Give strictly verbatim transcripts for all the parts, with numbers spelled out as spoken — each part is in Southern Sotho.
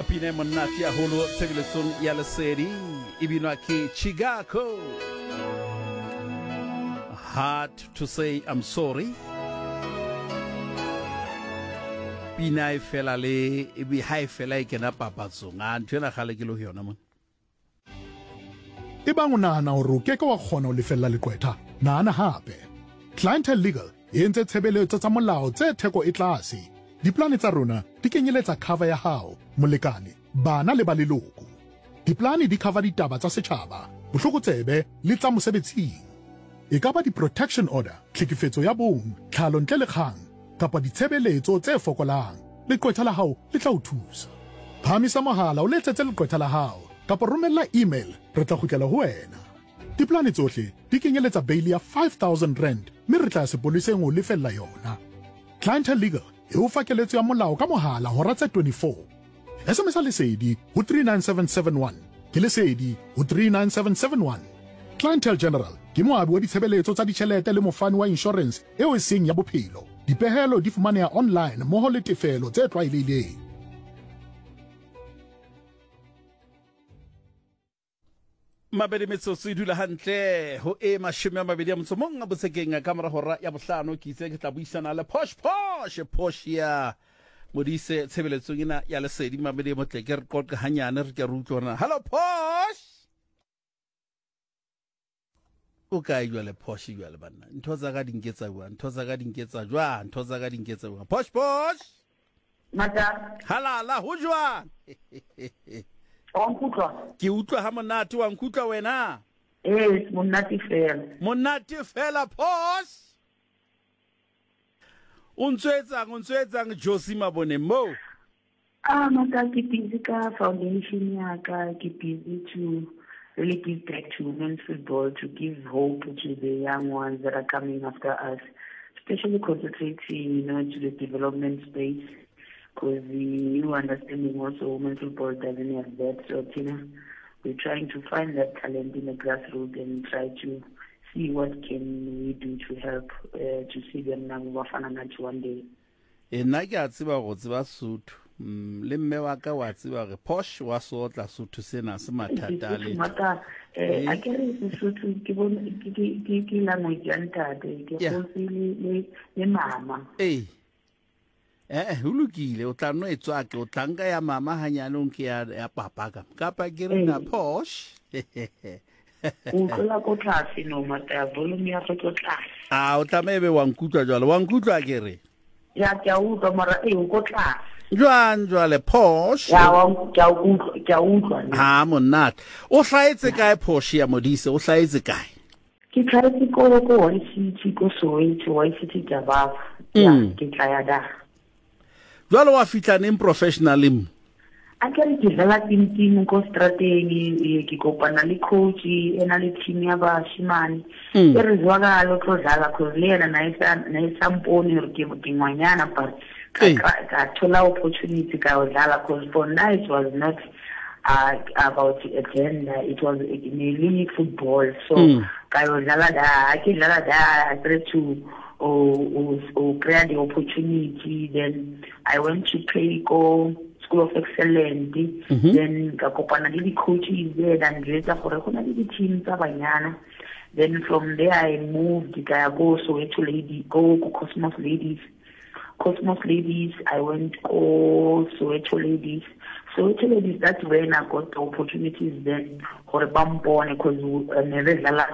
Pina e monate haholo tshebeletsong ya Lesedi, e binwa ke Chicago. Hard to Say I'm Sorry. Pina e fela le e be ha e fela e kena papatsong. A ntho ena kgale ke le ho yona mona. Ebang o nahana hore o keke wa kgona ho lefella leqwetha, nahana hape. Clientele Legal e entse tshebeletso tsa molao tse theko e tlase. Diplane tsa rona di kenyeletsa cover ya hao, molekane, bana le ba leloko. Diplane di cover ditaba tsa setjhaba, bohlokotsebe le tsa mosebetsing. E ka ba di-protection order, tlhekefetso ya bong, tlhalo ntle le kgang, kapa ditshebeletso tse fokolang. Leqwetha la hao le tla o thusa. Phahamisa mohala o letsetse leqwetha la hao kapa romella email, re tla kgutlela ho wena. Diplane tsohle di kenyeletsa bail ya five thousand rand mme re tla ya sepoleseng ho lefella yona. Clientele Legal e o fa keletso ya molao ka mohala hora tse twenty-four. S M S Lesedi ho three nine seven seven one. Ke Lesedi ho three nine seven seven one. Clientele General ke moabi wa ditshebeletso tsa ditjhelete le mofani wa insurance eo e seng ya bophelo. Dipehelo di fumaneha online mmoho le tefelo tse tlwaelehileng. Mabedi metsotso e dula hantle ho e mashome a mabedi a motso mong a botsekeng ka mora hora ya bohlano. Ke itse ke tla buisana le Posh Posh Portia Modise tshebeletsong ena ya Lesedi. Mabedi motle ke re qoqe hanyane re ke re utlwe hore na. Hello Posh, o kae jwale Posh jwale banna? Ntho tsa ka di nketsa jwang? Ntho tsa ka di nketsa jwang? Ntho tsa ka di nketsa jwang? Posh Posh Mata halala ho jwang? Wa nkutlwa? Ke utlwa ha monate. Wa nkutlwa wena? Eh, monate fela. Monate fela Posh. O ntso etsang, o ntso etsang Josie Mabone mo? Ah, mata ke busy ka foundation ya ka, ke busy to really give back to women's football, to give hope to the young ones that are coming after us, especially concentrating, you know, to the development space, because the new understanding also women's football doesn't have that. So, Tina, we're trying to find that talent in the grassroots and try to see what can we do to help uh, to see them now Bafana Nathi one day. E nna ke a tseba go tseba Sotho. Mm, le mme wa ka wa tseba re Posh wa sotla Sotho sena se mathata le. Mata eh a ke re Sotho ke bone ke ke ke language ya ntate ke go le le mama. Eh. Eh, ho lokile o tla no e tswake o tla nka ya mama hanyane o nke ya ya papa ka. Kapa ke re na Posh. O tla ko tlase no mata volume ya go tlo tlase. Ah, o tla ebe wa nkutlwa jwale. Wa nkutlwa ke re. Ya ke a utlwa mara e o ko tlase. Jwang jwale Posh? Ya wa ke a utlwa, ke a utlwa. Ha monate. O hlaetse kae Posh ya Modise? O hlaetse kae? Ke hlaetse ko ko Y C T ko Soweto, Y C T Jababa. Ya ke tla ya da. Jwale wa fihla neng professional mo? A ke re ke dlala team team ko strateng, ke kopana le coach e na le team ya bashimane. E re zwakala o tlo dlala cause le yena na isa na isa mpone hore ke ke ngwanyana, but ka ka thola opportunity ka o dlala cause for now it was not uh, about agenda, it was mainly football. So ka o dlala da ke dlala da I tried to or or create the opportunity. Then I went to play go School of Excellence. Mm-hmm. Then ka kopana le di-coaches there than jwetsa gore go na le di-team tsa banyana. Then from there I moved ka ya go Soweto Lady, go go Cosmos Ladies. Cosmos Ladies, I went go Soweto Ladies. Soweto Ladies, that's when I got the opportunities then gore ba mpone because ne re dlala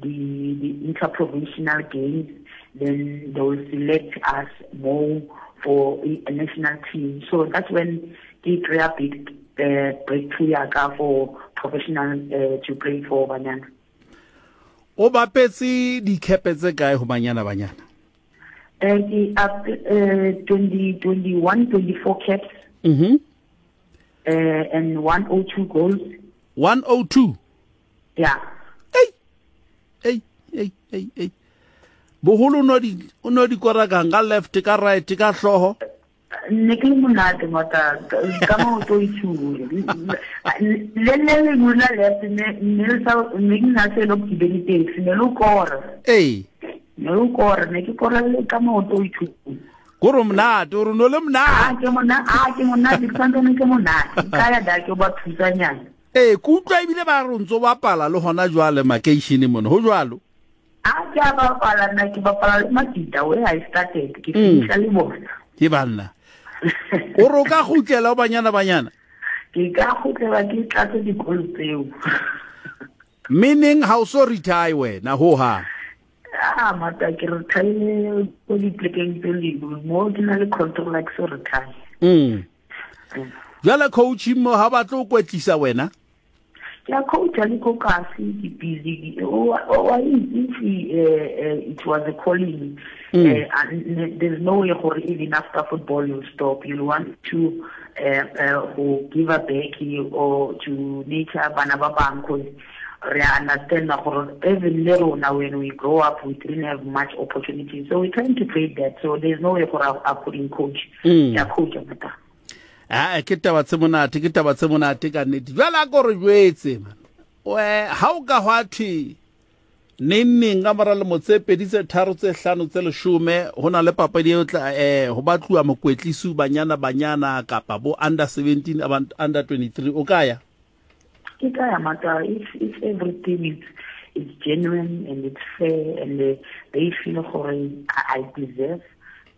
the the interprovincial games. Then they will select us more for a national team. So that's when they create a big uh, breakthrough for professional uh, to play for Banyana. O bapetse dikepe tse kae ho Banyana Banyana? Uh, the up uh, twenty, twenty-one, twenty-four caps. Mm-hmm. Uh, and one oh two goals. one oh two? Yeah. Hey, hey, hey, hey, hey. Boholo no di o no di kora ka nga left ka right ka hloho. Ne ke le monate mata ka maoto itshule. Le le le ngula left ne ne sa ne ke na se lo kibele taxi ne lo kora. Eh. Ne lo kora ne ke kora le ka maoto itshule. Ko re monate, o re no le monate. Ah, ke monate, ah, ke monate, ke santsane ke monate. Ka ya da ke ba thusanyana. Eh, ke utlwa ebile ba re o ntso bapala le hona jwale makeisheneng mona, ho jwalo? Ah, ke a bapala nna, ke bapala le Makita where I started, ke fihla le bona. Ke banna. O re o ka kgutlela ho Banyana Banyana? Ke ka kgutlela ke tlatse dikolo tseo. Meaning ha o so retire wena ho hang? Ah, mata ke retire ko diplekeng tse dingwe, mo ke na le control like so retire. Mm. Jwale coach mo ha ba tlo kwetlisa wena? Ke a coach le ko kasi ke busy. O wa itse it was a calling. Mm. Uh, and there's no way gore even after football you stop. You want to uh, uh, give a back or to nature bana ba bang, cause re understand gore even le rona when we grow up we didn't have much opportunity, so we're trying to create that. So there's no way gore I couldn't coach. Mm. Ke a coach mata. Ah, ke taba tse monate, ke taba tse monate ka nnete. Jwale a ko re jwetse man. We ha o ka hwa thwe neng neng ka mora lemo tse pedi tse tharo tse hlano tse leshome ho na le papadi eo tla eh ho batluwa mokwetlisi Banyana Banyana kapa bo under seventeen under twenty-three, o ka ya? Ke ka ya mata, if if everything is is genuine and it's fair and they, they feel gore I, I deserve,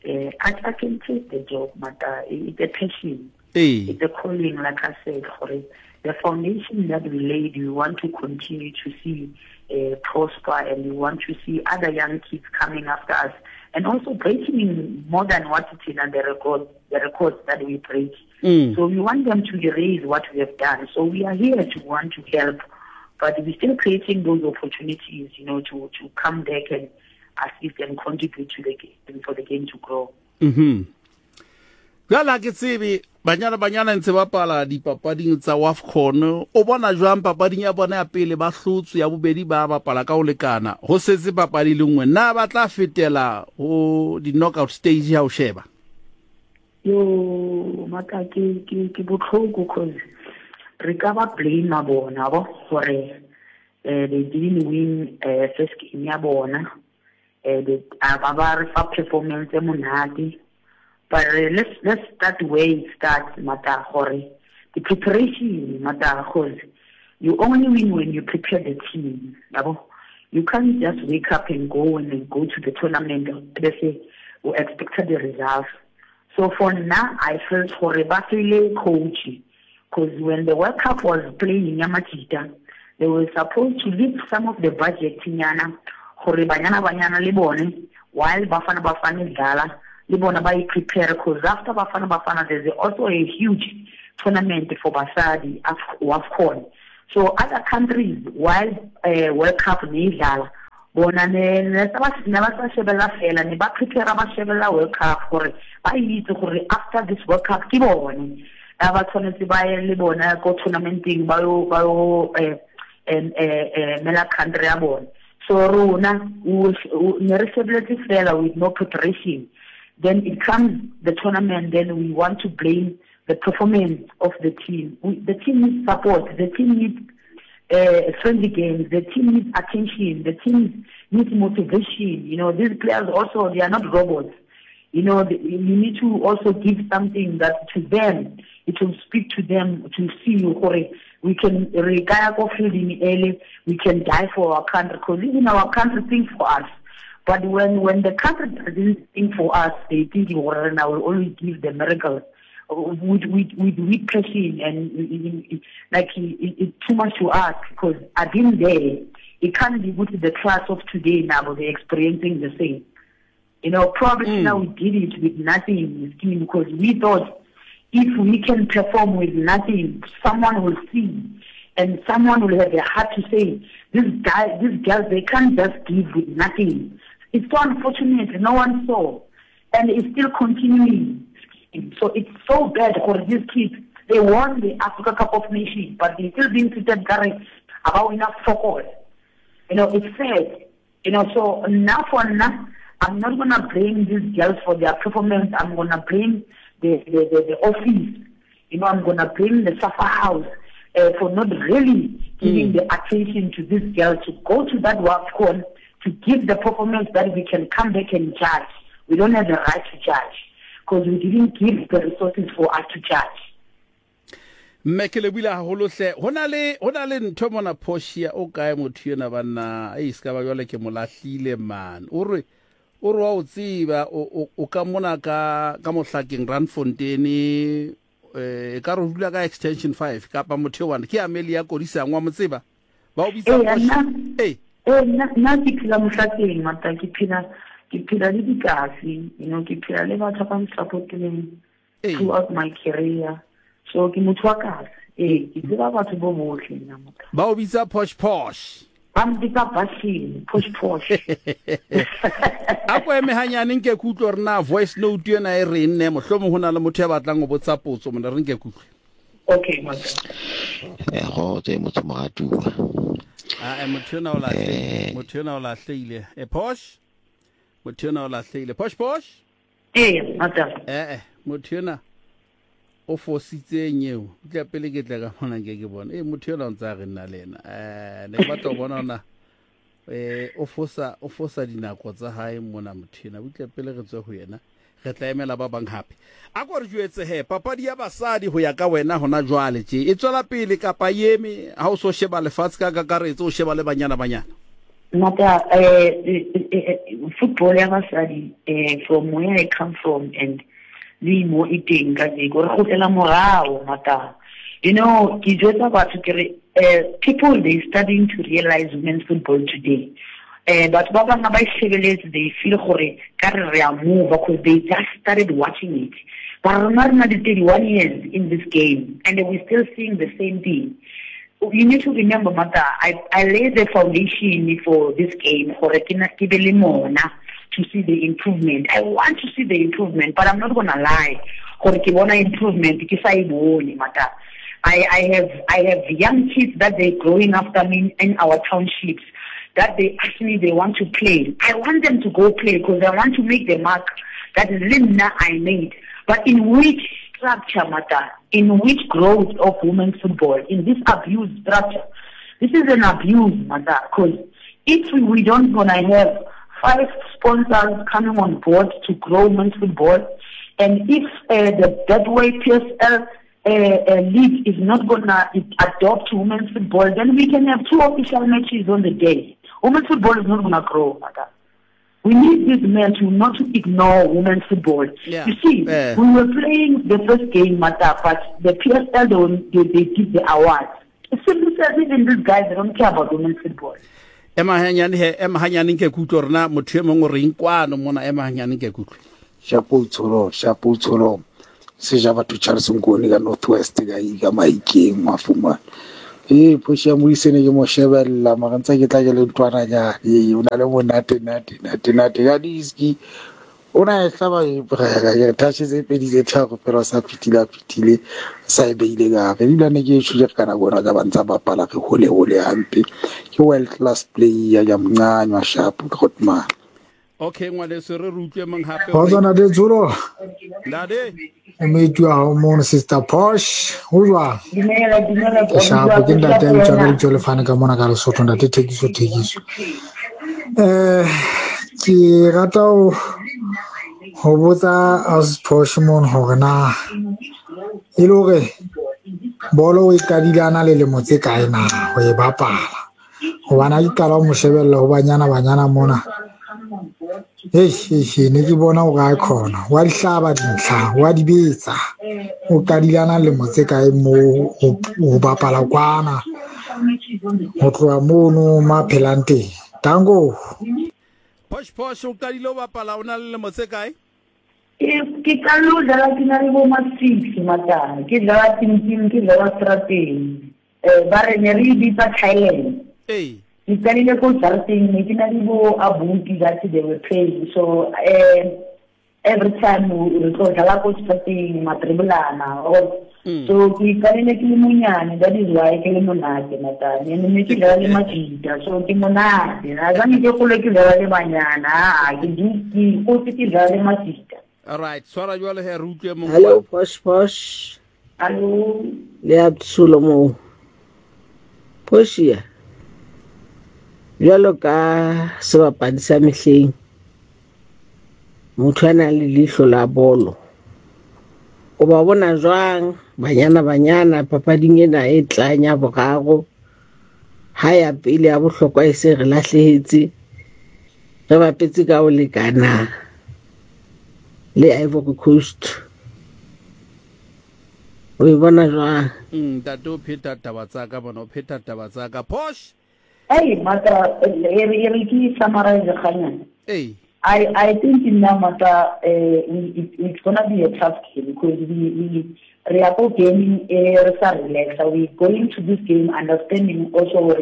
uh, I, I can take the job mata. It's a passion. Hey. It's a calling, like I said, gore the foundation that we laid, we want to continue to see uh, prosper, and we want to see other young kids coming after us, and also breaking more than what it's in and the record, the records that we break. Mm. So we want them to erase what we have done. So we are here to want to help, but we're still creating those opportunities, you know, to, to come back and assist and contribute to the game, for the game to grow. Mm-hmm. Jwale ke tsebe Banyana Banyana ntse bapala dipapading tsa WAFCON, o bona jwang papading ya bona ya pele ba hlotswe, ya bobedi ba bapala ka ho lekana, ho setse papadi le nngwe, na ba tla fetela ho di-knockout stage ha o sheba? Yo maka ke ke ke botlhoko, cause re ka ba blame bona bo gore eh they didn't win eh first game ya bona, eh ba ba re fa performance e monate. But uh, let's let's start where it starts, mata, gore the preparation, mata, cause you only win when you prepare the team. Yabo? You can't just wake up and go and then go to the tournament. They say we expected the results. So for now, I felt gore ba fele coach, because when the World Cup was playing in Yamachita, they were supposed to leave some of the budget nyana gore Banyana Banyana le bone while Bafana Bafana dlala le bona ba prepare, because after Bafana Bafana there's also a huge tournament for basadi WAFCON. So other countries while uh, World Cup ne dlala bona ne ne ba sa shebella fela, ne ba prepare ba shebella World Cup gore ba itse gore after this World Cup ke bone ba tshwanetse ba ye le bona ko tournamenteng ba yo ba yo eh eh mela country ya bona. So rona ne re shebeletse fela with no preparation. Then it comes the tournament, then we want to blame the performance of the team. We, the team needs support, the team needs uh, friendly games, the team needs attention, the team needs motivation. You know, these players also, they are not robots. You know, they, you need to also give something that to them, it will speak to them to see we can we can die for our country, because even our country thinks for us. But when, when the country doesn't think for us, they think I will only give the miracles with with with weak passion and like it, it's too much to ask, because I've been there. It can't be with the class of today now, but they're experiencing the same. You know, probably mm. now we did it with nothing, because we thought if we can perform with nothing, someone will see, and someone will have the heart to say, this guy, these girls, they can't just give with nothing. It's so unfortunate, no one saw, and it's still continuing. So it's so bad for these kids. They won the Africa Cup of Nations, but they're still being treated about enough focus. You know, it's sad. You know, so now for now, I'm not going to blame these girls for their performance. I'm going to blame the, the, the, the office. You know, I'm going to blame the Safa House uh, for not really giving mm. the attention to these girls to go to that WAFCON, to give the performance that we can come back and judge. We don't have the right to judge. because we didn't give the resources for us to judge. Mme ke lebohile haholo hle. Ho na le ho na le ntho mona Portia o kae motho ena banna. Ei ska ba jwale ke mo lahlile man. O re o re wa o tseba o o ka mona ka ka mohlakeng Randfontein eh ka re dula ka extension five kapa motho wa ke Amelia Kodisang wa motseba. Ba o bitsa Portia. Eh eh nna nna ke phela mohlakeng mata ke phela ke phela le dikasi, you know, ke phela le batho ba nsupportileng throughout my career. So ke motho wa kasi. Eh, ke tseba batho bo bohle nna motho. Ba o bitsa Posh Posh. Ba mpitsa Bashini, Posh Posh. A ko eme hanyane nke ke utlwe hore na voice note yona e reng ne mohlomong ho na le motho ya batlang ho botsa potso mona re nke ke utlwe. Okay, motho. Eh go tse motho moratuwa. Ah, motho yona o lahlehile. Motho yona o lahlehile. Eh Posh? Motho yona o lahlehile. Posh Posh? Eh, motho. Eh eh, motho yona o fositse nyeo. Tla pele ke tla ka mona nke ke bona. Eh motho yona o ntsa re nna le yena. Eh ne ke batla ho bona ona eh o fosa o fosa dinako tsa hae mona motho yena. Tla pele re tswe ho yena. Re tla emela ba bang hape. A ko re jwetse he papadi ya basadi ho ya ka wena hona jwale tje e tswela pele kapa yeme ha o so sheba lefatshe ka kakaretso o sheba le banyana banyana. Mata eh football ya basadi eh from where I come from and le mo e teng ka jeko re kgutlela morao mata. You know, ke jwetsa batho ke re people they starting to realize women's football today. Eh batho ba bang ba shebeletse they feel gore ka re re a move because they just started watching it. But rona re na le thirty-one years in this game and we're still seeing the same thing. You need to remember, Mata, I, I laid the foundation for this game gore ke na ke be le mona to see the improvement. I want to see the improvement, but I'm not gonna lie. Gore ke bona improvement ke sa e bone, Mata. I, I have I have young kids that they're growing after me in our townships that they ask me they want to play. I want them to go play because I want to make the mark that Linda I made. But in which structure, Mata? In which growth of women's football? In this abuse structure? This is an abuse, Mata, because if we don't gonna have five sponsors coming on board to grow women's football, and if uh, the Betway P S L uh, uh, league is not gonna adopt women's football, then we can have two official matches on the day. Women's football is not gonna grow, Mata. We need these men to not to ignore women's football. Yeah. You see, yeah. we were playing the first game, Mata, but the P S L, they, they, they give the award. It simply says even these guys, they don't care about women's football. Ema hanyane he, ema hanyane nke kutlwe rena motho e mongwe o reng kwano mona ema hanyane nke kutlwe. Shapo tsholo, shapo tsholo. Seja batho Charles Nkone ka Northwest ka ka Maikeng mafuma. Eh Portia Modise ne ke mo shebella mara ntse ke tla ke le ntwananyana. Eh o na le monate nate nate nate ka diski. O na e hlaba e brega ke touch tse pedi tse tharo fela sa fitile fitile sa e beile ka re ebile ne ke e tshule ka nako yona ka ba ntsa bapala re hole hole hampe. Ke world class player ya mncanywa sharp Grootman. Okay ngwaneso re re utlwe mang hape. Khotso ntate Tsolo. Ntate. Mmetu wa hao mono Sister Posh. Ho jwang? Dumela, dumela. Shapo ke ntate a bitswang ka lebitso le fane ka mona ka Lesotho ntate Thekiso Thekiso. Eh ke rata ho ho botsa Ausi Posh mono hore na e le hore bolo o e qadile a na le lemo tse kae na ho e bapala. Hobane ha ke qala ho mo shebella ho banyana banyana mona. Hei, hei, ne ke bona hore a khona. Wa di hlaba dintlha, wa di betsa. O qadile a na le lemo tse kae moo ho bapala kwana. Ho tloha mono ma phelang teng. Tango. Posh Posh o qadile ho bapala o na le lemo tse kae? Ke qadile ho dlala ke na le bo ma six mata. Ke dlala team ke dlala strateng. Eh ba re ne re bitsa Thailand. Ee. Ke qadile ko jarateng ne ke na le bo abuti that they were playing. So eh every time re tlo dlala ko strateng matribolana or mm. So ke qadile ke le monyane, that is why ke le monate mata. Ne ne ke dlala le majita, so ke monate. Na zane ke gole ke dlala le banyana, ke di ke go ke dlala le majita. All right, swara jwale he re utlwe mong. Hello Posh Posh. Hello. Le a tsolo mo. Portia. Jwalo ka sebapadi sa mehleng, motho a nang le leihlo la bolo. O ba bona jwang Banyana Banyana papading ena e tlang ya boraro, ha ya pele ya bohlokwa e se re lahlehetse, re bapetse ka ho lekana le Ivory Coast. O e bona jwang? Ntate o pheta taba tsa ka bona, o pheta taba tsa ka. Posh. Hey, mata e re ke summarize kganyana. Hey. I, I think in Namata, uh, it, it's going to be a tough game because we, we, we are gaming uh, relax. We're going to this game understanding also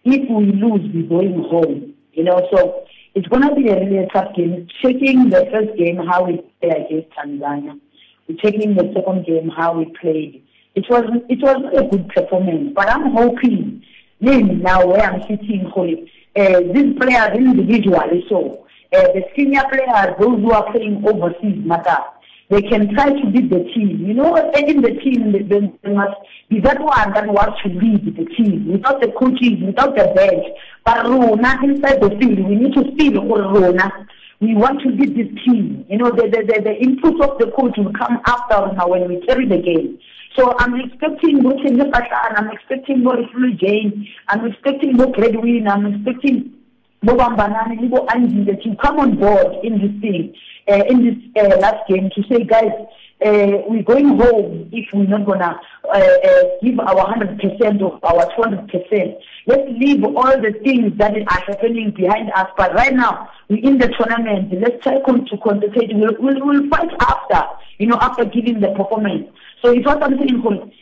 if we lose, we're going home. You know, so it's going to be a really tough game. Checking the first game, how we played against Tanzania. We're checking the second game, how we played. It was, it was a good performance, but I'm hoping, then now where I'm sitting, uh, these players individually, so, Uh, the senior players, those who are playing overseas, matter. They can try to lead the team. You know, in the team, they, they must be that one that wants to lead the team, without the coaches, without the bench. But Rona, inside the field, we need to feel Rona. We want to lead this team. You know, the, the, the, the input of the coach will come after Rona when we carry the game. So I'm expecting Bo Patan, I'm expecting Bo Flu Jane, I'm expecting Bo Gladwin, I'm expecting Bo Bambanani, Bo Angie, to come on board in this thing, uh, in this uh, last game, to say, guys, uh, we're going home if we're not going to uh, uh, give our one hundred percent of our two hundred percent. Let's leave all the things that are happening behind us. But right now, we're in the tournament. Let's try to concentrate. We'll, we'll, we'll fight after, you know, after giving the performance. So it's what I'm saying,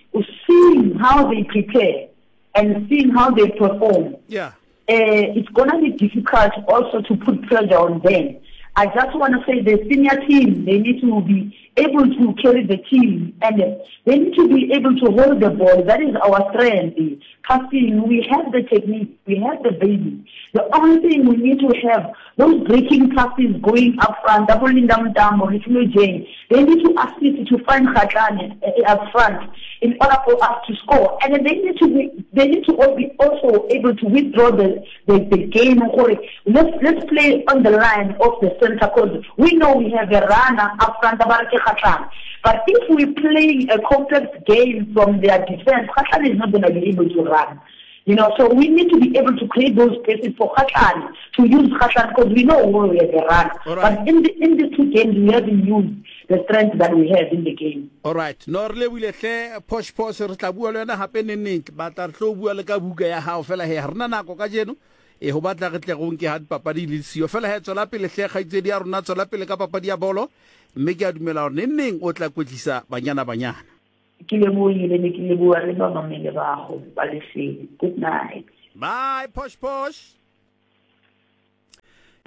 seeing how they prepare and seeing how they perform. Yeah. Uh, it's going to be difficult also to put pressure on them. I just want to say the senior team, they need to be able to carry the team and they need to be able to hold the ball. That is our strength. Passing, we have the technique, we have the baby. The only thing we need to have, those breaking passes going up front, doubling down, down, or Jane, they need to assist to find Khatlane up front in order for us to score. And then they need to be, they need to be also able to withdraw the, the, the game. Let's, let's play on the line of the center, because we know we have a runner up front, but if we play a complex game from their defense, Khatlane is not going to be able to run. You know, so we need to be able to create those spaces for Khatlane, to use Khatlane, because we know where we have a run. Right. But in the in the two games, we haven't used the strength that we have in the game. All right. No, re lebohile hle, Posh Posh, re tla bua le wena hape neneng. Batla re tlo bua le ka buka ya hao fela he, ha rena nako kajeno. E ho batla re tle go nke ha dipapadi le siyo. Fela he, tswela pele hle, kgaitsedi ya rona, tswela pele ka papadi ya bolo. Mme ke a dumela hore neneng o tla kwetlisa Banyana Banyana. Ke lebohile, ne ke leboha le ba mamele ba go ba Lesedi. Good night. Bye, Posh Posh.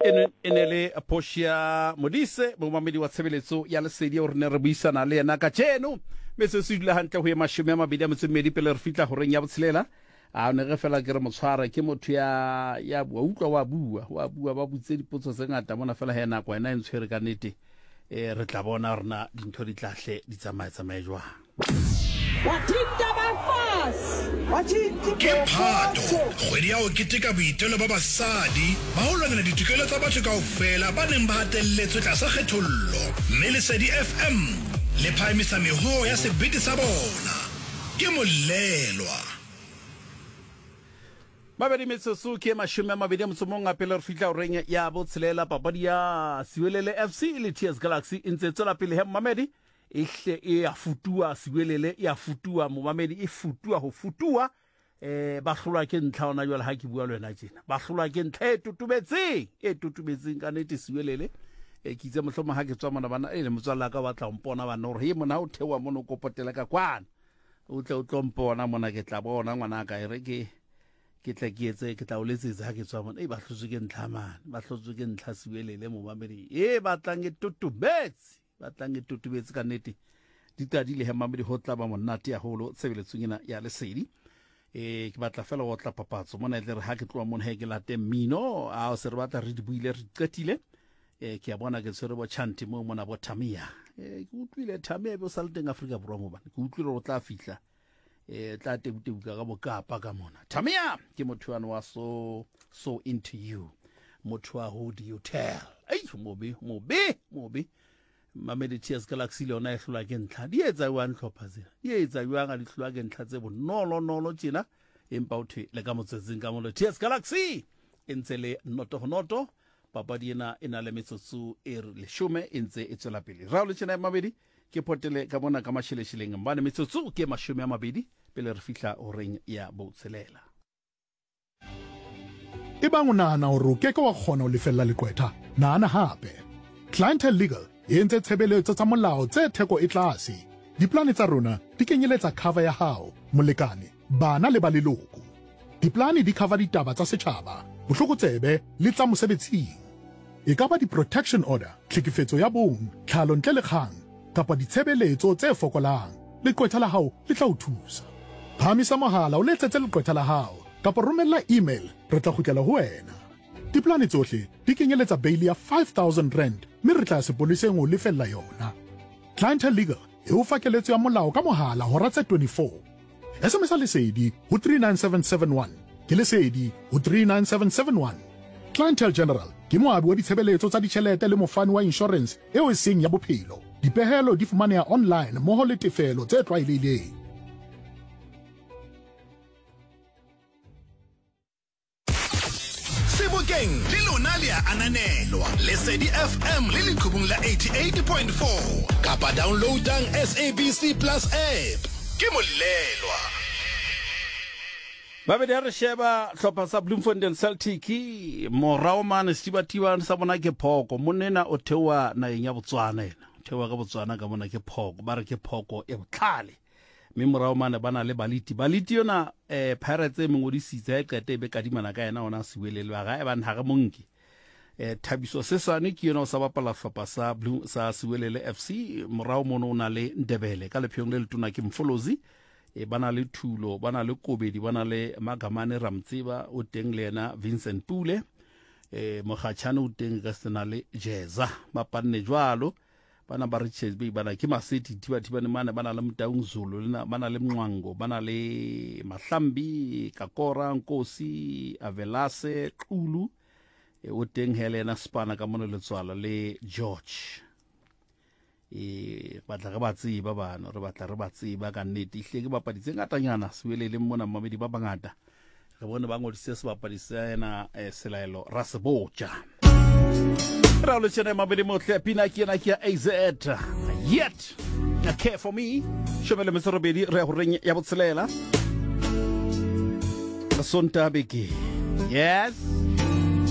E ne le Portia Modise, momamedi wa tshebeletso ya Lesedi, o re ne re buisana le yena kajeno. Metsotso e dula hantle ho ye mashome a mabedi a metso e mmedi pele re fihla horeng ya botshelela. A ne re fela ke re motshwara ke motho ya ya bua, utlwa wa bua, wa bua, ba butse dipotso tse ngata mona fela he nako ena e ntshwere ka nnete. Eh re tla bona rena dintho di tlahle di tsamaye tsamaye jwang. Ke Phato, kgwedi ya ho keteka boitelo ba basadi ba ho lwanela ditokelo tsa batho kaofela ba neng ba hatelletswe tlasa kgethollo. Mme Lesedi F M le phahamisa mehoo ya sebete sa bona. Ke molelwa. Mabedi metsotso ke mashome a mabedi a motso mong a pele re fihla horeng ya botshelela. Papadi ya Siwelele F C le T S Galaxy e ntse tswela pele he momamedi. E hle e a futua Siwelele, e a futua momamedi, e futua ho futua. Eh ba hlolwa ke ntlha hona jwale ha ke bua le wena tjena. Ba hlolwa ke ntlha e totobetseng, e totobetseng ka nnete Siwelele. E ke itse mohlomong ha ke tswa mona bana, e le motswalla ka batla ho mpona bana hore he mona o theoha mona o kopotela ka kwana. O tle o tlo mpona mona, ke tla bona ngwana ka e re ke ke tla ke etse, ke tla o letsetsa ha ke tswa mona. E ba hlotswe ke ntlha mane, ba hlotswe ke ntlha Siwelele momamedi. E batlang e totobetse, batlang e totobetse ka nnete. Di qadile he mamedi ho tla ba monate haholo tshebeletsong ena ya Lesedi. E ke batla fela ho tla papatso mona, e tle re ha ke tloha mona he ke late mmino, a o se re batla re di buile re qetile. E ke a bona ke tshwere bo Chanti mo mona bo Thamia. E ke utlwile Thamia be o sa le teng Afrika Borwa mo bana. Ke utlwile hore o tla fihla e tla tebutebuka ka bokapa ka mona. Thamia ke motho wa wa so so into you. Motho wa who do you tell? Ei mobe mobe mobe. Mamedi T S Galaxy le yona e hlolwa ke ntlha. Di etsa jwang hlopha tsena? Di etsa jwang ha di hlolwa ke ntlha tse bonolo nolo tjena? Empa o thwe le ka motswetsing ka molo T S Galaxy e ntse le noto ho noto. Papadi ena e na le metsotso e leshome e ntse e tswela pele. Rao le tjena mabedi ke potele ka mona ka mashelesheleng mbane metsotso ke mashome a mabedi pele re fihla horeng ya botshelela. E bang o nahana hore o ke ke wa kgona ho lefella leqwetha, nahana hape. Clientele Legal e entse tshebeletso tsa molao tse theko e tlase. Diplane tsa rona di kenyeletsa cover ya hao, molekane, bana le ba leloko. Diplane di cover ditaba tsa setjhaba, bohlokotsebe le tsa mosebetsing. E ka ba di-protection order, tlhekefetso ya bong, tlhalo ntle le kgang, kapa ditshebeletso tse fokolang. Leqwetha la hao le tla o thusa. Phahamisa mohala o letsetse leqwetha la hao kapa romella email, re tla kgutlela ho wena. Diplane tsohle di kenyeletsa bail ya five thousand rand mme re tla ya sepoleseng ho lefella yona. Clientele Legal e o fa keletso ya molao ka mohala hora tse twenty-four. S M S Lesedi ho three nine seven seven one. Ke Lesedi ho three nine seven seven one. Clientele General ke moabi wa ditshebeletso tsa ditjhelete le mofani wa insurance eo e seng ya bophelo. Dipehelo di fumaneha online mmoho le tefelo tse tlwaelehileng. Sebokeng le lona le a ananelwa. Lesedi F M le leqhubung la eighty-eight point four kapa downloadang S A B C Plus app. Ke molelwa. Babedi ha re sheba hlopha sa Bloemfontein Celtic morao mane Setibatibane sa bona ke phoko. Monna o theoha naheng ya Botswana ena. O theoha ka Botswana ka mona ke phoko. Ba re ke phoko e botlhale. Mme morao mane ba na le Baliti. Baliti yona eh Pirates e mongodisitse ha e qete e be kadimana ka yena ona Siwelele ba ga e bana ha re monke. Eh Thabiso Sesane ke yona o sa bapala hlopha sa Blue sa Siwelele F C. Morao mono o na le Ndebele ka lepheong le letona ke Mfolozi. E bana le Thulo, bana le Kobedi, bana le Magamane Ramtseba o teng le yena Vincent Pule. Eh Mogatshane o teng ka sena le Jeza. Ba panne jwalo. Bana ba Richards Bay bana ke Maseti thiba thibane mane bana le Motaung Zulu le bana le Mncwango bana le Mahlambi Kakora Nkosi Avelase Qulu e o teng Helena Spana ka mona letswala le George. E batla re ba tseba bana re batla re ba tseba ka nnete ihle ke bapadi tse ngatanyana Siwelele mona mamedi ba bangata re bone ba ngodisitse sebapadi sa ena Selaelo Rasebotja. Raul tjena mabedi motle pina ke ena ke ya A Z yet a care for me shomele metsorobedi re ya horeng ya botshelela Sonta beke. Yes.